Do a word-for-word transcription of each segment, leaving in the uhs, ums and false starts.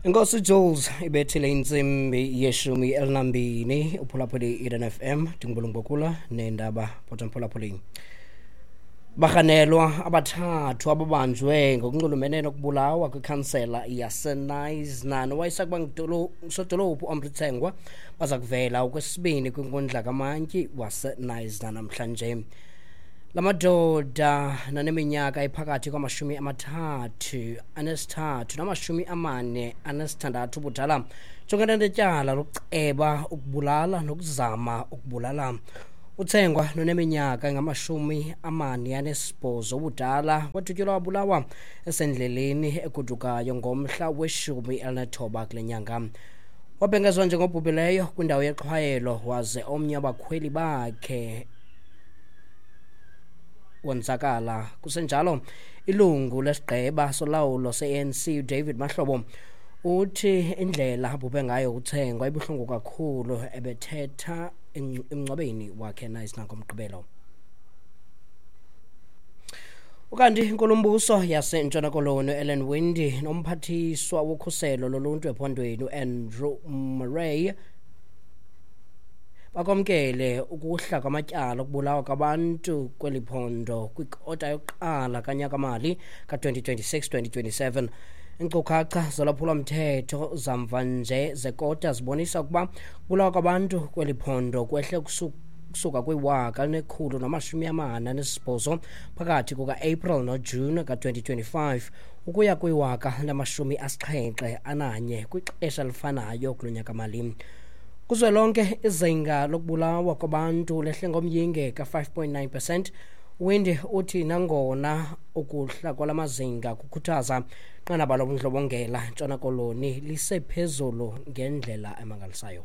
Inkosi Jules ibethile intsimbi yeshumi elinambini uphulaphuli Eden F M ndingubulungubokula neendaba bhota mphulaphuli. Barhanelwa abathathu ababanjwe ngokunxulumene nokubulawa kwikhansela yaseKnysna nowayesakuba ngusodolophu uAmri Tsengwa baza kuvela okwesibini kwinkundla kamantyi waseKnysna namhlanje. La madoda naneminyaka ephakathi kwamashumi amathathu anesithathu namashumi amane anesithandathu ubudala jongene netyala lokuceba ukubulala nokuzama ukubulala. Utsengwa noneminyaka engamashumi amane anesibhozo ubudala wadutyulwa wabulawa esendleleni egodukayo ngomhla weshumi elinethoba kule nyanga. Wabhengezwa njengobhubhileyo kwindawo yexhwayelo waze omnye wabakhweli bakhe wonzakala. Kusenjalo, ilungu lesigqeba solawulo se-A N C uDavid Mahlobo uthi indlela abhubhe ngayo uTsengwa ibuhlungu kakhulu ebethetha emngcwabeni wakhe eKnysna ngoMgqibelo. Ukanti inkulumbuso yaseNtshona Koloni Ellen Winde nomphathiswa wokhuselo loluntu ephondweni uAndrew Murray bakwamkele ukuhla kwamatyala okubulawa kwabantu kweli phondo kwikota yokuqala kanyakamali ka-twenty twenty-six twenty twenty-seven. Iinkcukacha zolwaphulomthetho zamva nje zekota zibonisa ukuba ukubulawa kwabantu kweli phondo kwehle kusuka kwiwaka elinekhulu namashumi amane anesibhozo phakathi kuka-April noJune ka-twenty twenty-five ukuya kwiwaka lamashumi asixhenxe ananye kwixesha elifanayo kulo nyakamali. Kuzwelonke izinga lokubulawa kwabantu lehle ngomyinge ka-five point nine percent. Winde uthi nangona ukuhla kwalamazinga kukhuthaza inqanaba lobundlobongela eNtshona Koloni lisephezulu ngendlela emangalisayo.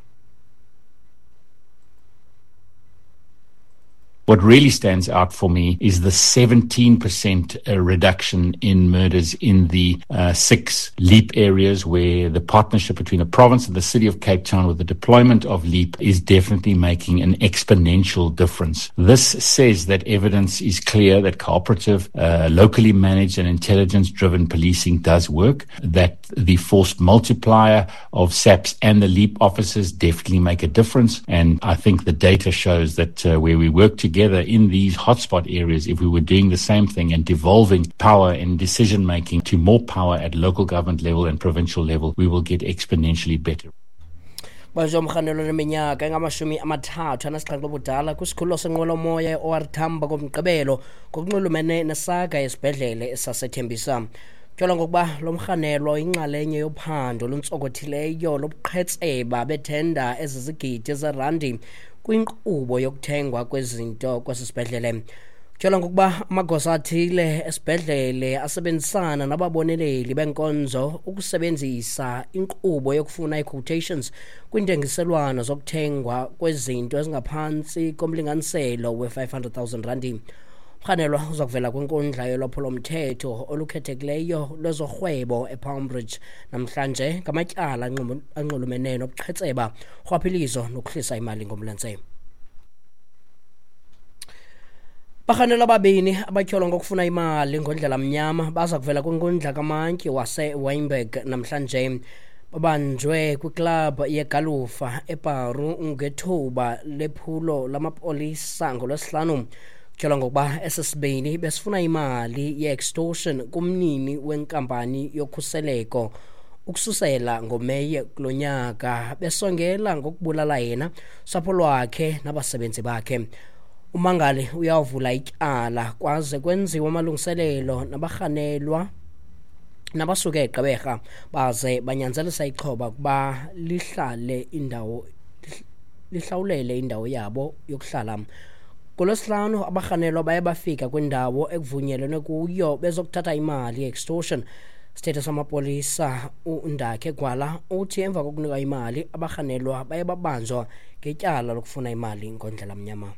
What really stands out for me is the seventeen percent reduction in murders in the uh, six LEAP areas where the partnership between the province and the city of Cape Town with the deployment of LEAP is definitely making an exponential difference. This says that evidence is clear that cooperative, uh, locally managed and intelligence-driven policing does work, that the force multiplier of S A Ps and the LEAP officers definitely make a difference. And I think the data shows that uh, where we work together together in these hotspot areas, if we were doing the same thing and devolving power and decision making to more power at local government level and provincial level, we will get exponentially better. Banjwe umrhanelwa oneminyaka engamashumi amathathu anesixhenxe ubudala kwisikhululo senqwelomoya e-O R Tambo ngoMgqibelo ngokunxulumene nesaga yesibhedlele esasethembisa. Tyholwa ngokuba lo mrhanelwa uyinxalenye yophando oluntsokothileyo lobuqhetseba bethenda ezizigidi zerandi kwinkqubo yokuthengwa kwezinto kwesi sibhedlele. Tyholwa ngokuba amagosa athile esibhedlele asebenzisana nababoneleli benkonzo ukusebenzisa inkqubo yokufuna ii-quotations kwiintengiselwano zokuthengwa kwezinto ezingaphantsi komlinganiselo we-five hundred thousand randi. Umrhanelwa uza kuvela kwinkundla yolwaphulomthetho olukhethekileyo lwezorhwebo ePalm Ridge namhlanje ngamatyala anxulumene nobuqhetseba, urhwaphilizo nokuhlisa imali ngomlenze. Barhanelwa ababini abatyholwa ngokufuna imali ngondlela mnyama baza kuvela kwinkundla kamantyi waseWynberg namhlanje. Babanjwe kwiklabhu yegalufa eParu ngethuba lephulo lamapolisa ngoLwesihlanu. Tyholwa ngokuba esesibini besifuna imali ye-extortion kumnini wenkampani yokhuseleko ukususela ngoMeyi kulo nyaka, besongela ngokubulala yena, usapho lwakhe nabasebenzi bakhe. Umangali uyawuvula ityala kwaze kwenziwa amalungiselelo nabarhanelwa nabasuke eGqeberha baze banyanzelisa ixhoba ukuba lihlale indawo lihlawulele indawo yabo yokuhlala. NgoLwesihlanu abarhanelwa baye bafika kwindawo ekuvunyelenwe kuyo bezokuthatha imali ye-extortion. Sithethe samapolisa uNdakhe Gwala uthi emva kokunika imali abarhanelwa baye babanjwa ngetyala lokufuna imali ngondlela mnyama.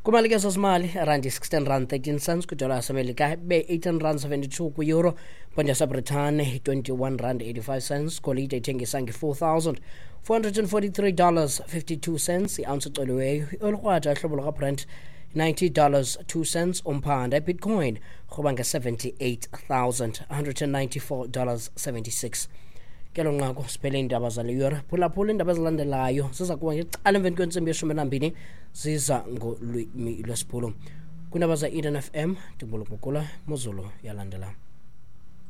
Kwimali ke zezimali, irandi sixteen rand thirteen cents kwidola yaseMelika, ibe eighteen rand seventy-two kwi-euro, iponti yaseBritane twenty-one rand eighty-five cents, golide ithengisa nge-four thousand four hundred and forty-three dollars fifty-two cents, i-ounce ecoliweyo, iolikrwada ehlobo lukaBrent ninety dollars two cents umphanda. Ibitcoin rhuba nge-seventy-eight thousand one hundred and ninety-four dollars seventy-six. Kelo nqaku siphele iindaba zale yure. Phulaphula iindaba ezilandelayo ziza kuba ngecala emveni kwentsimbi yeshumi elambini, ziza ngolwimi lwesiBhulu. Kwiindaba ze-Eden F M, ndingubulukubukula Mozulu yalandela.